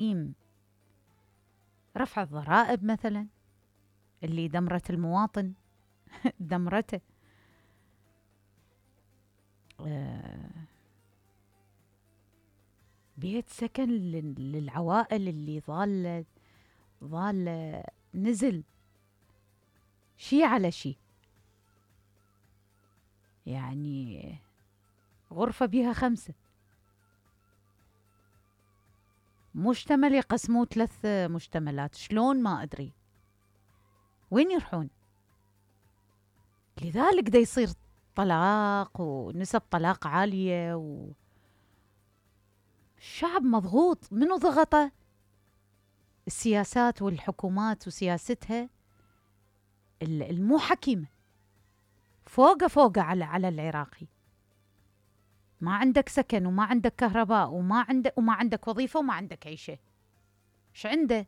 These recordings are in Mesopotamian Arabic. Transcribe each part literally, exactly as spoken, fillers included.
تدعيم رفع الضرائب مثلا اللي دمرت المواطن دمرته. آه بيت سكن للعوائل اللي ظالة ظالة نزل شي على شي، يعني غرفة بيها خمسة، مشتمل يقسموه ثلاث مشتملات، شلون ما أدري وين يروحون. لذلك دا يصير طلاق ونسب طلاق عالية والشعب مضغوط. منو ضغطه؟ السياسات والحكومات وسياستها المو حكيمة، فوقه فوقه على على العراقي. ما عندك سكن وما عندك كهرباء وما عندك وما عندك وظيفة وما عندك عيشة، ش عنده؟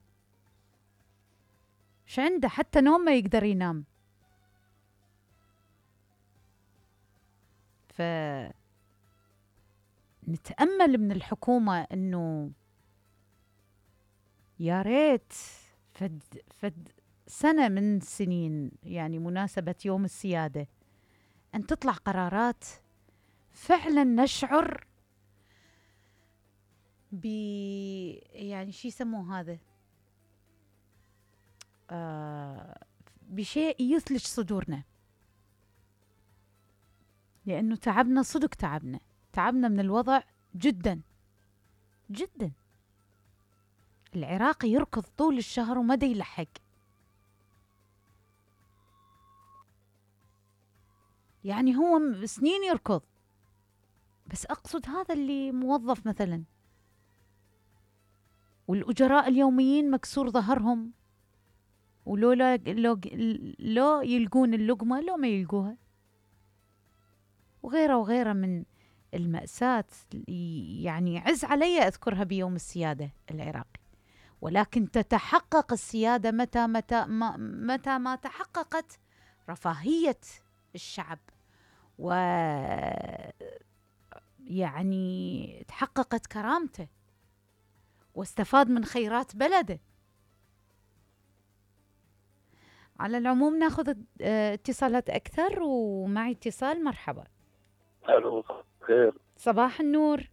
ش عنده؟ حتى نوم ما يقدر ينام. ف نتأمل من الحكومة إنه يا ريت فد فد سنة من سنين، يعني مناسبة يوم السيادة، أن تطلع قرارات فعلا نشعر ب يعني شي يسموه هذا آه بشيء يثلج صدورنا، لأنه تعبنا صدق، تعبنا تعبنا من الوضع جدا جدا. العراقي يركض طول الشهر وما دا يلحق، يعني هو سنين يركض. بس أقصد هذا اللي موظف مثلا، والأجراء اليوميين مكسور ظهرهم، ولو لا لو, لو يلقون اللقمة لو ما يلقوها، وغيره وغيره من المأساة. يعني عز علي أذكرها بيوم السيادة العراقي، ولكن تتحقق السيادة متى متى ما متى ما تحققت رفاهية الشعب، و يعني تحققت كرامته واستفاد من خيرات بلده. على العموم ناخذ اتصالات أكثر، ومعي اتصال. مرحبا. الو خير. صباح النور.